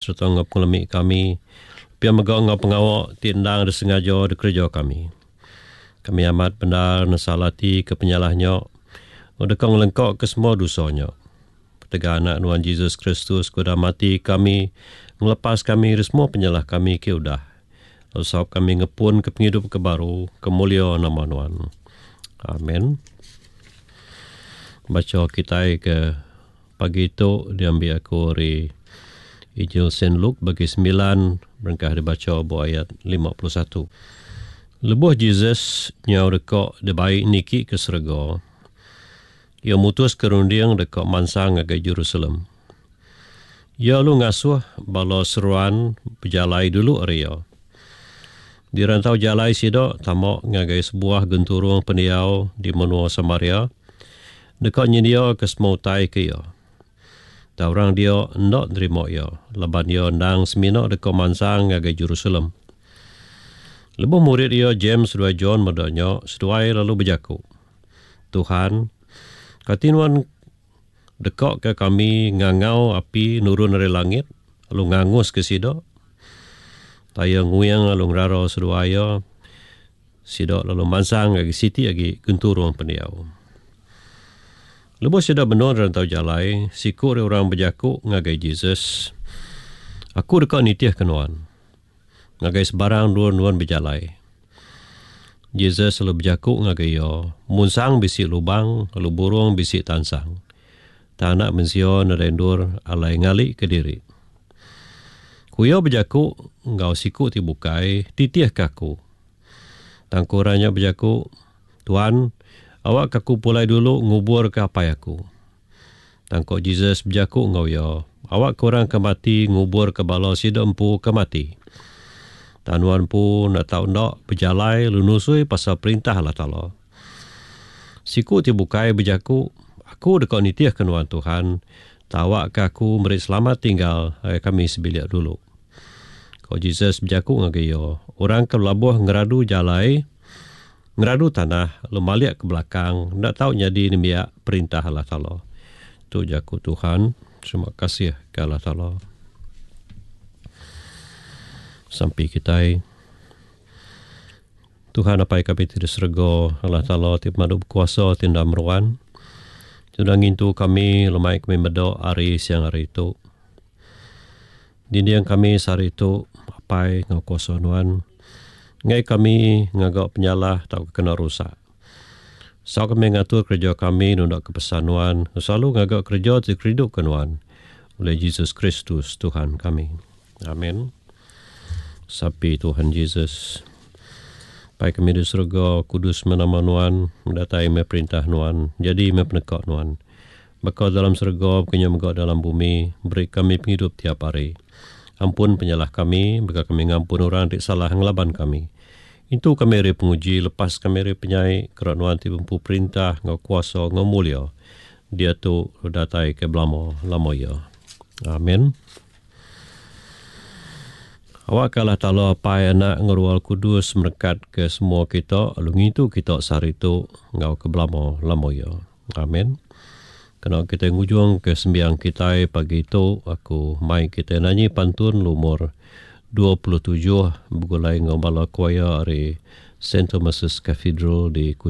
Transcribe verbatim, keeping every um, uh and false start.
sereta enggau pengelemi kami, pia mega enggau pengawa ti endang disengaja dikereja kami. Kami amat bendar nesal ati ke penyalah nya, lalu deka ngelengka ke semua dosa nya. Ketegal anak nuan Jesus Kristus ke udah mati kami, ngelepas kami ari semua penyalah kami ke udah. Lalu saup kami ngepun ke pengidup ke baru, ke mulia nama nuan. Amen. Bacha kitai ke pagi tu diambi aku ari Injil Saint Luke bagi semilan berengkah dibacha ba ayat lima puluh satu. Lebuh Jesus nyau deka dibai niki ke serega, iya mutus ke runding deka mansang ngagai Jerusalem. Iya lalu ngasuh bala seruan bejalai dulu ari iya. Di rantau jalai sida tama ngagai sebuah genturung pendiau di menua Samaria, deka nyendia ke semua utai ke iya. Tang orang dia enda nerima iya, laban iya endang semina deka mansang ngagai Jerusalem. Lebuh murid iya James seduai John meda nya, seduai lalu bejaku, Tuhan, kati nuan deka ke kami ngangau api nurun ari langit lalu ngangus ke sida? Taya nguing lalu ngerara seduai iya, sida lalu mansang ngagai siti agi genturung pendiau. Lebuh sida benung rantau jalai, siku ari orang bejaku ngagai Jesus, Aku deka nitih ke nuan ngagai sebarang endur nuan bejalai. Jesus lalu bejaku ngagai iya, Munsang bisi lubang, lalu burung bisi tansang. Tang anak mensia nadai endur alai ngali ke diri. Ku iya bejaku enggau siku ti bukai, Titih ke aku. Tang ku orang nya bejaku, Tuan, awak ke aku pulai dulu ngubur ke apai aku. Tang ku Jesus bejaku enggau iya, Awak ke orang ke mati ngubur ke bala sida empu ke mati. Tang nuan empu enda tau enda bejalai lalu nusui pasal perintah Allah Taala. Siku ti bukai bejaku, Aku deka nitih ke nuan Tuhan, tawak ke aku meri selamat tinggal ngagai kami sebilik dulu. Ko Jesus bejaku ngagai iya, Orang ke belabuh ngeradu jalai, ngeradu tanah, lalu malik ke belakang, enda tau nyadi nembiak perintah Allah Taala. Tu jaku Tuhan. Terima kasih ke Allah Taala. Sampi kitai. Tuhan apai kami ti di serega, Allah Taala ti pemadu bekuasa ti enda meruan. Sudah ngintu kami lemai kami meda hari siang hari tu. Dinding kami sehari tu apai ngau kuasa nuan. Ngai kami ngaga penyalah tauka kena rusak. Sau kami ngatur kerja kami nunda ke pesan nuan, selalu ngaga kerja ti kerindu ke nuan. Oleh Jesus Kristus Tuhan kami. Amin. Sapi Tuhan Jesus. Pai kami di surga, kudus menama nuan, mendatai me perintah nuan, jadi me peneka nuan. Baka dalam surga, bukannya mega dalam bumi, beri kami penghidup tiap hari. Ampun penyalah kami, baka kami ngampun orang ti salah ngelaban kami. Itu kami ari penguji, lepas kami ari penyai, kerana nuan ti bempu perintah, ngau kuasa, ngau mulia. Dia tu datai ke belama, lama ya. Amin. Awak Allah Ta'ala Apai Anak Ngerual Kudus merekat ke semua kita, lalu ngintu kita sehari tu ngau ke belama lama ya. Amin. Kena kita ngujung ke sembiang kita pagi tu, aku mai kita nanyi pantun lumur dua puluh tujuh begulai ngau bala choir ari Saint Thomas's Cathedral di Kuching.